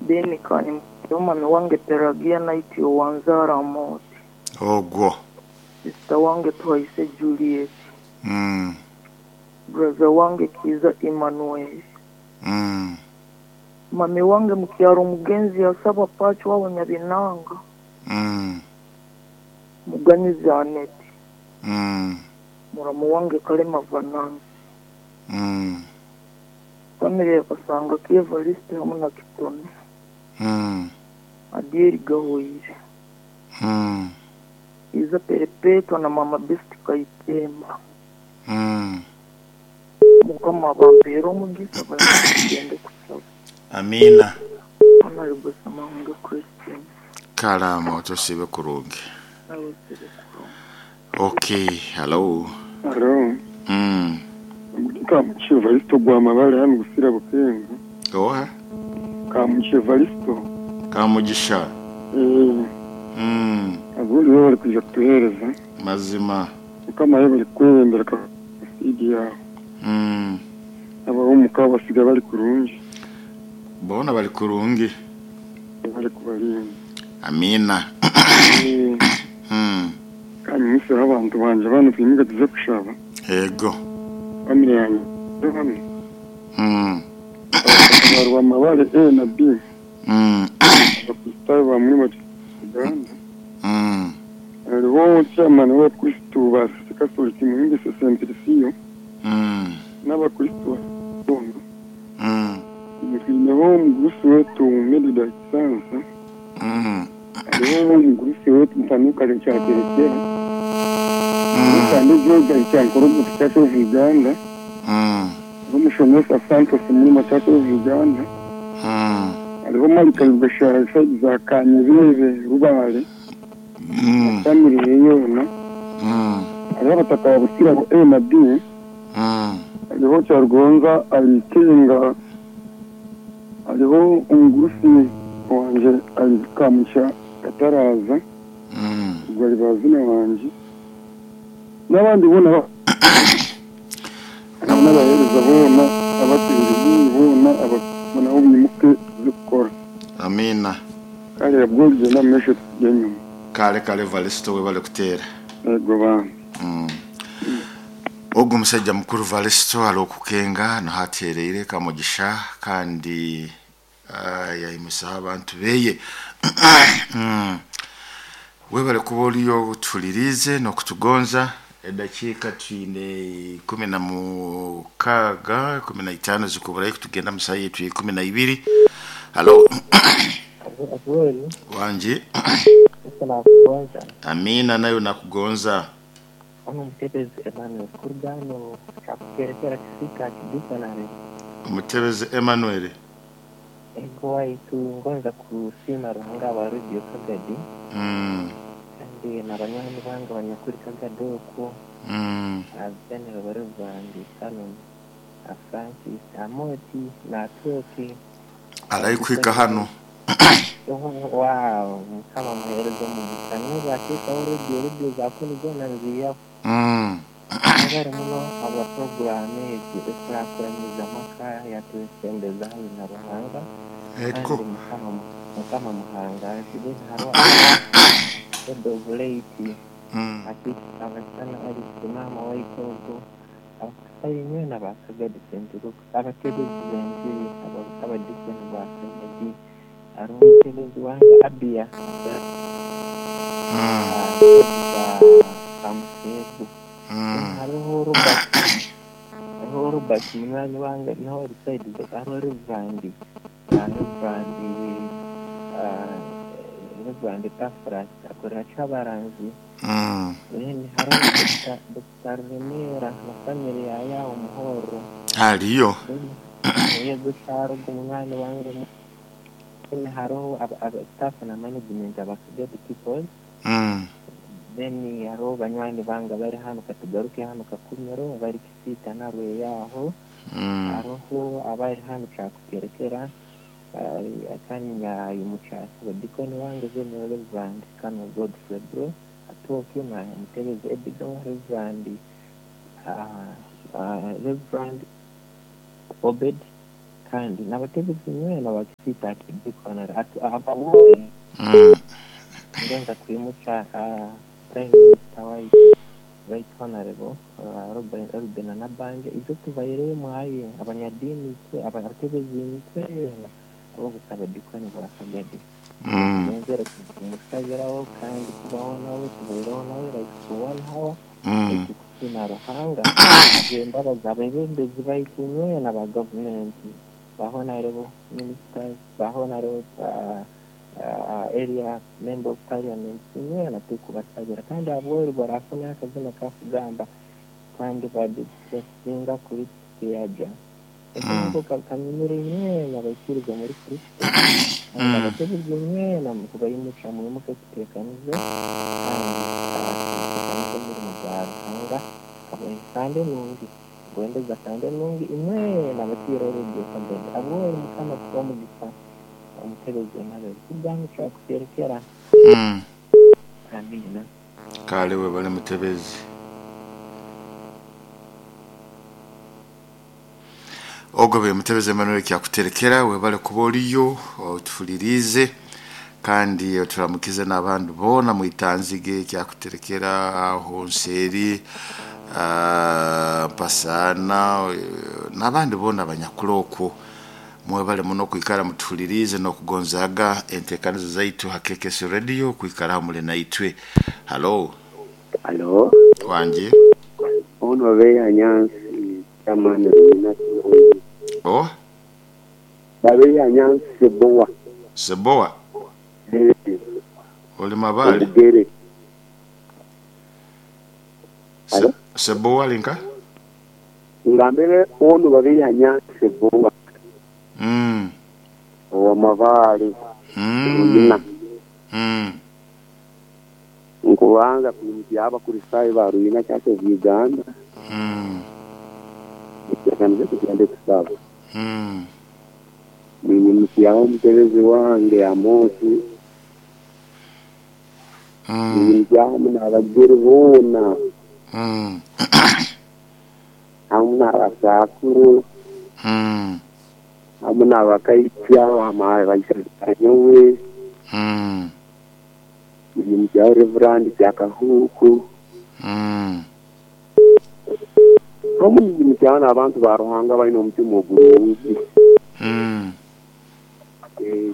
Then kani mami wange Pelagia Night owanzaara Amooti. Ogwo. Sister wange Tuhaise Juliet. Brother wange Kiiza Emmanuel. Mami wange mukyaro omugenzi Asaba Pacho aho Nyabinanga. Muganyizi Annet. Muramu wange Kalema Vanansi. Famire ya Kasanga ki Evariste hamu na Kitone. Adieri Gahwaire. Kiiza Perepetwa na Mama Best Kaitemba. Mukama abampeere omugisa baleke tugende kusaba. Amiina. Honorable Samahunga Christine. Kalaama otosiibe kurungi. Nawe osiibe kurungi. Okay, hello. Haro, Kamugisha Evaristo gwa Mabare hanu Busira Bukenga. Oha? Kamugisha Evaristo. Kamugisha. Abundi bo bari kwija kutuheereza. Mazima. Mukama yebare kukwebembera kasidi yawe. Ab'omuka basiga bari kurungi. Boona bari kurungi. Bari kubarinda. Amiina. Kandi nyiseho abantu banje bano twimuke tuze kushaba. Ego. Family yange hano. Abarwa Mabare A na B. Abakristaayo bamwe bati Uganda. Hariho chairman w'abakristu ba Catholic Muhimbise Semplisiyo. N'abakristu boona. Twineho omugurusi wetu Medida Kisansa. Hariho omugurusi wetu Mutanuka Kyaterekera. Kandi George Kyankorogo Church of Uganda. Hariho Mushomesa Santos Murima Church of Uganda. Hariho Marika Rugashara side za Kanyebebe Rubare. Family ye yoona. Hariho abataka ba Busira A na B. Hariho Kyarugonza Alikenga. Hariho omugurusi wanje ali Kamugisha Kataraza. Ubwo ari bazina wanje. N'abandi boona n'abaheereza boona abatebezi boona nabo mwimuke tuze kukora. Amiina. Kale bwo genda mu maisho tujya enyuma. Kale kale Evaristo webale kuteera. Ego bana. Ogu musajja mukuru Evaristo ali okukenga naho ateereire Kamugisha kandi yayimusaho abantu beye. Webale kuba oriyo otuhuririize n'okutugonza. Edakiika twine 16, 15 zikuburayo kutugenda mu saaha yaitu ya 12. Halo. Wangi. Nakugonza. Amiina nayo nakugonza. Ono Omutebezi Emmanuel kuruga hano kyakukerekera Kisika Kidikonari. Omutebezi Emmanuel. Ego waitu ngonza kusiima Ruhanga aba Radio Kagadi. Kandi na banywani bange abanyakuri Kagadi okwo. Abenero bari Rwanda Canon na Francis Amoti na Toki. Arayikuhika hano. Wow, Mukama muhereza omugisha n'obu ateekaho radio radio za kunu zoona nziihaho. Mwebale muno habwa puroguraamu egi ekurakuraniza amaka yatwesembeza haihi na Ruhanga. Ego. Kandi Mukama muhangazi then hariho head of late abasana Alice maama waitu ogwo abakusayo nywena ba Kagadi St. Luke's abatebezi b'enjiri abadikoni ba Kagadi hariho omutebezi wange Abia Kamuseegu. Hariho Robert munywani wange nawe ari side hariho Reverend Reverend Tafras akorera Kyabaranzi. Then hariho Dr. Remera na family ya yaho Muhoro. Hariyo. Yego Kyarugo munywani wange. Then hariho staff na management aba Kagadi people. Then hariho banywani bange bari hano katugaruke hano Kakumiro bari Kisiita na Rweyaho. Hariho abari hano Kyakukerekera kandi nyayimukyasi badikoni wange then Reverend Canon Godfrey Bro Atokyo na Mutebezi Edgar Reverend Reverend Obed Kandi n'abatebezi nywena bakisiita akidikonera abawoye ngenza kwimukya prime minister waitu right honorable Robert Nabanja ibyo tubairemu mwaye abanyadini twe abatebezi twena abo gusaba dikoni bwakagadi nenzere kumusabiraho kandi kubaho nawe tubairaho nawe like for 1 hour kusina Ruhanga embabazi abebembezi baitu nywena ba gavumenti ba honorable ministers ba honorable area member of parliament nywena tukubasabira kandi abweru barafuna akazina kakugamba kandi badusinga kuri kiyaja ekigambo kanyumire nywena baikiriza muri Kristo abatebezi nywena mukubayimuca mwimuke kutekanize kandi kutekanize umurimo gwa Ruhanga kandi nungi gwendeza kandi nungi imwena batira radio kabedi abweru mukama kuba mugisa omutebezi nabe kugambo kyakuterekera amina. Kale webale mutebezi. Ogobe mutebezi Emmanuel kyakuterekera webale kuba oliyo otufulirize kandi oturamukize n'abantu bona mwitanzige kyakuterekera aho nseri mpasana n'abandi bona abanyakuloko mwebale muno kwikara mutulirize n'okugonzaga entekanizo zaitu hakekesi radio kwikara mule naitwe. Hello. Hello. Wanje. Ono beya nyansi chamani mina. Oh. Babeya nyansi seboa. Seboa. Oli mabali. Bugere. Seboa linka? Ngambele ono babeya nyansi seboa. Owa mabali. Nkubanza kuyimukia Abakristaayo ba Ruina Church of Uganda. Ekyanze kugenda kusaba. Ninyimukiaho omutebezi wange Amosi. Ninyimukiaho n'abagere boona. Hamu n'abasakuru. Hamu n'abakaitya baishanyowe. Ninyimukiaho Reverend Kyakahuku. Hamu ninyimukiaho n'abantu ba Ruhanga balina omutima ogurungi.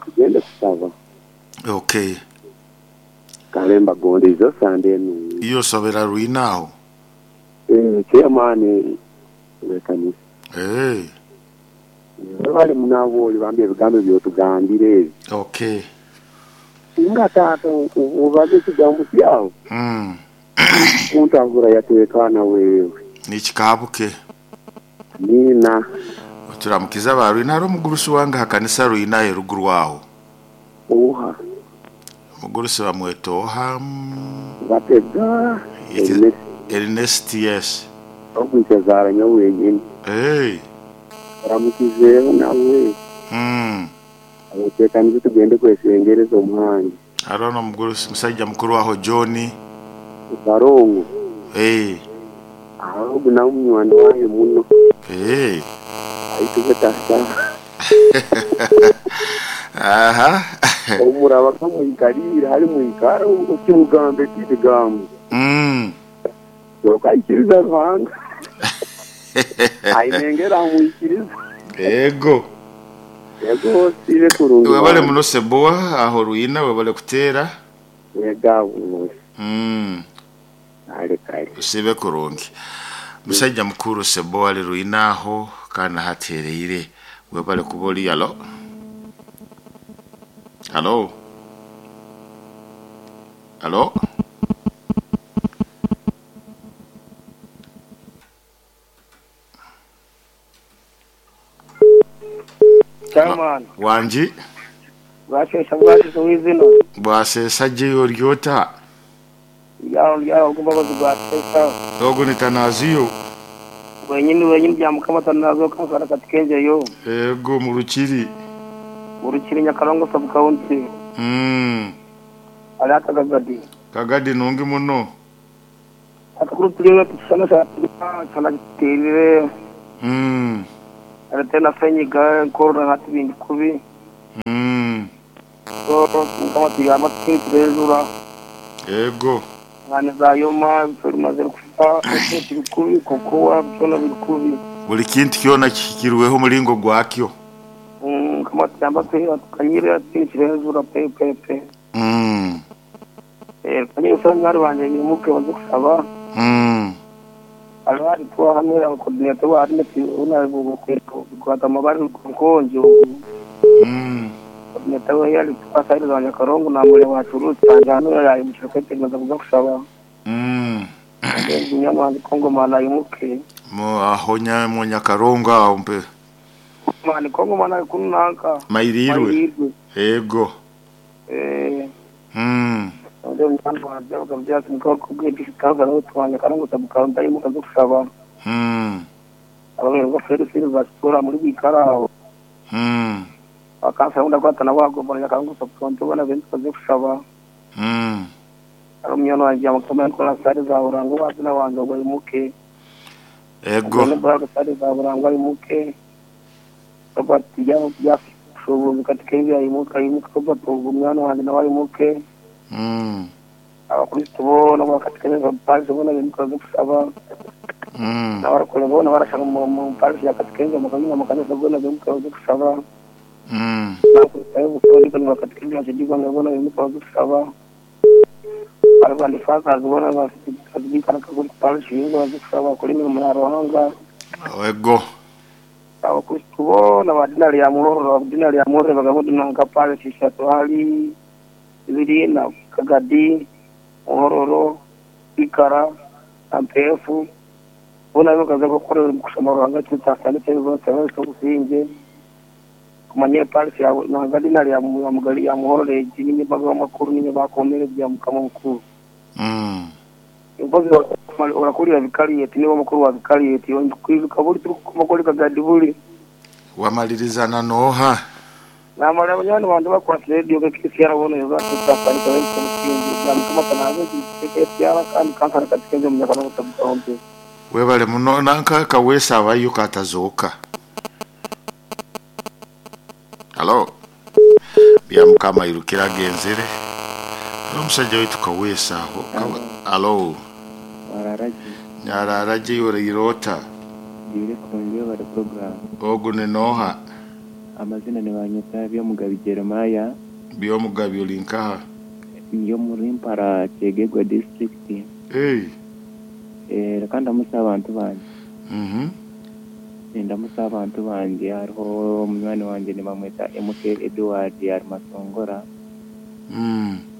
Tugende kusaba. Okay. Kalemba gondizo sande enu. Iyo sobera Ruina aho. Chairman wekanisa. Bali munabo bambi ebigambo byotugambire ebi. Okay. Nga taata obaze ekigambo kyawe. Kuntangura yateekana wewe. Nikikabuke. Nina. Turamukiza ba Ruina ari omugurusi wange hakanisa Ruina eruguru aho. Oha. Omugurusi bamweta Oha. Batega. Ernest yes. Ogwikazara nyawenyini. Ramukizeho nawe. Abatekanize tugende kwesengereza omuhangi. Arona omugurusi musajja mukuru aho John. Barongo. Aho na munywani wange muno. Aitugeta. Aha. Omuraba kamwikarira hari mwikara okimugambe kigambo. Yokaikiriza Ruhanga. Ainengera amwikiriza. Ego. Ego sire kurungi. Webale muno Seboa aho Ruina webale kutera. Ega muno. Ale kale. Usibe kurungi. Musajja mukuru Seboa ali Ruina aho kana hatereire. Webale kuboli alo. Hello. Hello. Chairman. Wanji. Bwasesa bwasesa wizino. Bwasesa je oryota. Yawo kubabazi bwasesa. Ogo nitanaziyo. Wenyini bya mukama tanazo kansara katikenje yo. Ego mu Rukiri. Urukiri Nyakarongo sub county. Alata Kagadi. Kagadi nungi muno. Atakuru tulina tusana sa sana terire. Ate na senyiga enkorona hati bindi kubi. So Mukama tuyamba tukinturejura. Ego. Ngane za yoma bimaze kufa turi kubi kokowa byona biri kubi. Buli kintu kyona kihikirweho omulingo gwakyo. Mukama tuyamba tukanyire tukinturejura pe pe pe. Kanyire usanga banje nyimuke baze kusaba. Alwari tuwa hamwe abakoordinator bari una kwata amabari nkonjo. Coordinator we yali twasayiriza abanyakarongo namure wacurutse hano yayi mu kirokete maze kuza kusaba. Nyamwandi Kongo mana yimuke. Mo aho mu Nyakarongo aho mpe. Mani Kongo mana kunanka. Mayirirwe. Ego. Ndio mwana wa kabya simko kubwira no twanya karango tabuka yimuka zo kusaba. Abamwe ngo Feri Silva muri bikaraho. Akansa unda kwatana wagomba Nyakarongo tabuka bona bentu baze kusaba. Ari umwana wanjye amakoma yakora sare za urango wazina wanjye ngo yimuke. Ego. Ngo sare za urango yimuke. Robert ya shobo katika hivi yimuka yimuka Robert umwana wanjye nawe yimuke. Abakristo bona bakatika hivi parish bona bimuka zo kusaba. N'abarakore bona barashaka mu parish ya katika hivi makanyina makanisa bona bimuka zo kusaba. N'abakusayo bona bakatika hivi ashidikwa bona bimuka zo kusaba. Arabandi faza bona bazibika nakaguri parish yingo baze kusaba kuri mirimo ya Ruhanga. Ego. Abakristo bona badinari ya Muhororo badinari ya Muhororo bagabudu nka parish ishatu hali ibiri na Kagadi, Muhororo, Ikara, Ampefu bona bakaza gukorera kusoma Ruhanga cyane cyane bose bose kumanye parish ya na ya Mugali ya Muhororo nyine baga makuru nyine bakomere bya mukama mukuru. Imbozi urakurira vikariyeti nibo mukuru wa vikariyeti kwibuka buri tumakori Kagadi buri wamalirizana noha namara abanywana bandi bakora radio KCR bona yozatsafani kawe kumusingi ya mukama kanabe KCR kandi kansara katika munyakana mutabuka webale muno nanka kawesa abayo katazoka. Halo. Bya mukama irukira genzere. Omusajja wetu kawesa aho. Halo. Wararaje. Nyararaje yorirota. Dire konje bari program. Ogu ni noha. Amazina ni banyita byo Mugabi Jeremiah. Byo Mugabi ulinkaha. Niyo muri Mpara Kyegegwa district. Kandi ndamusa abantu banje. Ndamusa abantu banje hariho munywani wanje nibamweta MK Edward ari Masongora.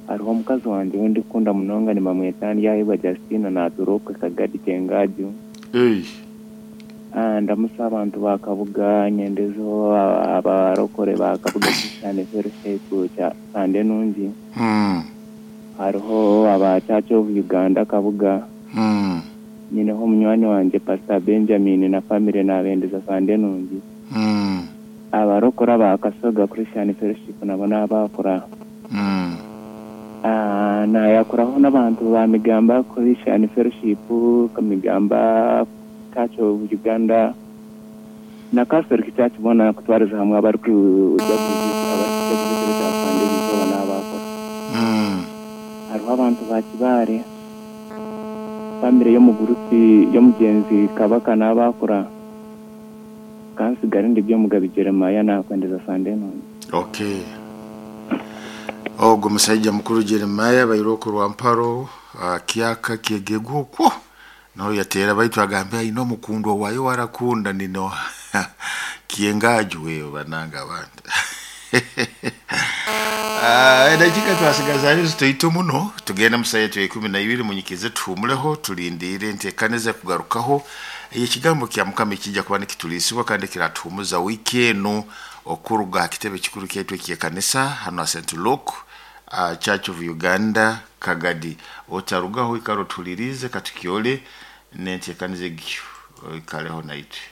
Hariho omukazi wanje wendikunda munonga nibamweta Ndyahebwa Justina naturuka Kagadi Kyengaju. Ndamusa abantu ba Kabuga nyendezo abarokore ba Kabuga Christian Fellowship cha Sande Nungi. Hariho aba Church of Uganda Kabuga. Nyineho munywani wanje Pastor Benjamin na family nabendeza Sande Nungi. Abarokora ba Kasoga Christian Fellowship nabo nabakora. Nayakuraho n'abantu ba Migamba Christian Fellowship Kamigamba Church of Uganda na Catholic Church bona kutwariza hamwe abari kuja kuja Sande bizoba nabakora. Hariho abantu ba Kibare family y'omugurusi y'omugenzi Kabaka n'abakora kansigara ndi byo Mugabi Jeremiah nakwendeza Sande Nungi. Okay. Ogo musajja mukuru Jeremiah bairoko rwa Mparo kiaka Kyegegwa okwo naho yatera baitu agambe aino mukundwa wayo warakunda nino Kyengaju wewe bananga abantu. Edakika twasigaza zitoito muno tugenda musaye tu 12 munyikize tuhumuleho tulindire ntekaneze kugarukaho ekigambo kya Mukama kijja kuba nikitulisibwa kandi kiratuhumuza wiki eno okuruga kitebe kikuru kyaitu eky'ekanisa hano St. Luke Church of Uganda Kagadi. Otarugaho ikaro tulirize katukiole nentekaneze ikaleho naitwe.